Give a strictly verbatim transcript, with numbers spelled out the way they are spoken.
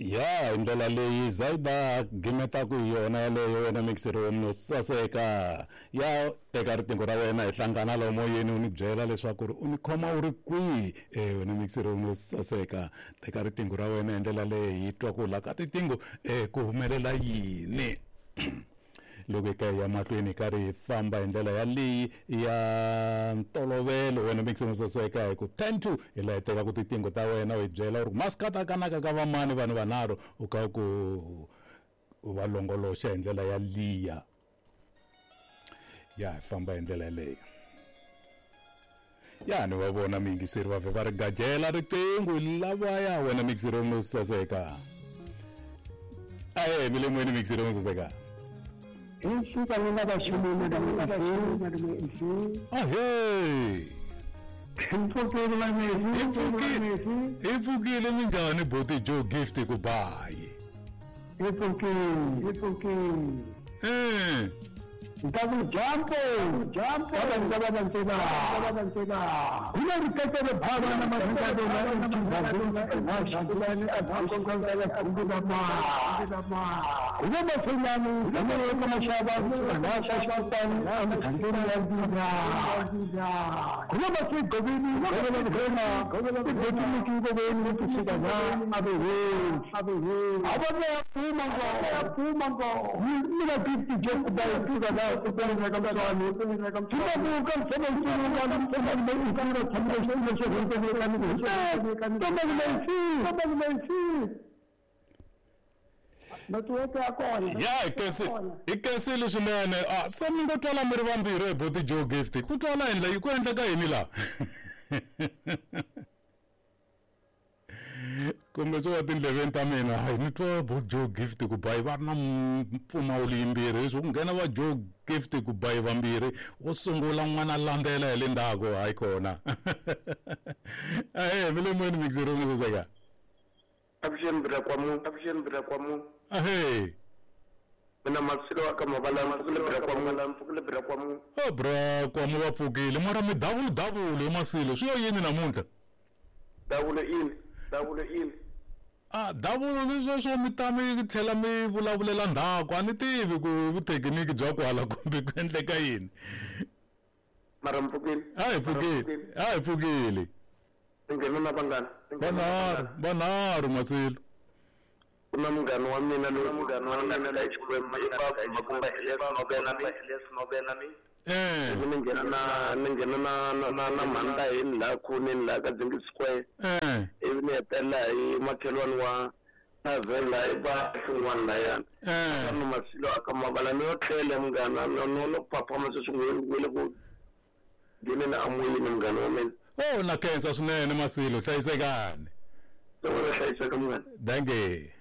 Ya hi ndlela leyi Zaida gimetaku hi yona yaleyo wena mixeri wa munhu saseka. Ya teka riqingho ra wena hi hlangana laha moyeni u ni byela leswaku ri u ni khoma u ri kwihi. E wena mixeri wa munhu saseka, teka riqingho ra wena hi ndlela leyi hi twa ku la ka tiqingho e ku humelela yini. Loko hi ka hi ya mahlweni hi karhi hi famba hi ndlela yaleyi ya ntolovelo wena mixeri wa saseka hi ku ten to hi laha hi tekaka tiqingho ta wena u hi byela u ri maskata kanaka ka vamani vanhu vanharhu u ka ku u va longoloxa hi ndlela ya liya. Ya hi famba hi ndlela yaleyo. Ya ni va vona miyingiseri va vhe va ri gajela riqingho lavaya wena mixeri wa saseka. Ahe mi le moyeni mixeri wa saseka. Ahee, hi pfukile minjhani boti Joe Gift ku bayi? Hi pfukile, hi pfukile. Eh. Ntaku jambo, jambo. Baba baba ntsena, baba ntsena. Kuna rikete baba na mazinga na mchingazona na shangulani akonkonzela kumbuka ma. Kuna mafulani, kuna mashaba, na shashantani, na mtandoni ya dina. Kuna masigobini, kuna mgrema, kuna mgobini kingobini tusika na abewe, abewe. Abone pumango, pumango. Mina bitti joku bayi tuga. Ya hi kensile swinene. A se mi ngo twala mi ri vambirhi hi boti Joe Gift ku twala yini la ku endleka yini laha? Kumbe swo va tindleveni ta mina hayi ni twa bo Joe Gift ku bayi va ri na mpfumawulo yimbirhi leswi ku nghena va Joe Gift ku bayi vambirhi wo sungula n'wana landzela hi le ndzhaku hayi kona. Ahe mi le moyeni mixeri wa saseka. Avuxeni bra kwamu, avuxeni bra kwamu. Ahe. Mina Masilo aka mavala mpfukile bra kwamu, mpfukile bra kwamu. Oh bra kwamu va pfukile mara mi davulu davulu hi Masilo swi yo yini namuntlha? Davulo ini, davulo ini. Ah davulo leswi swo mi ta mi tlhela mi vulavulela ndzhaku a ni tivi ku vuthekiniki bya kwala kumbe ku endleka yini. Mara mpfukile. A hi pfukile, a hi pfukile. Nghena na vanghana. Vanharhu, vanharhu Masilo. Ku na munghana wa mina loyi munghana wa mina la Xikwembu i va kumba Elias Nobena mi, Elias Nobena mi. Eh. Ni nghena na ni nghena na na na na mhanda hi la khoneni la ka Dzingi Square. Eh. Ivi ni hetelela hi makhelwani wa Tavela i va xin'wana layani. Eh. Ka Masilo aka mavala ni yo tlhela munghana no no no phaphama sweswi n'wi le ku ngheneni amoyeni munghana wa mina. Oh na khensa swinene Masilo, hlayisekani. Wena hlayiseka munghana. Dankie.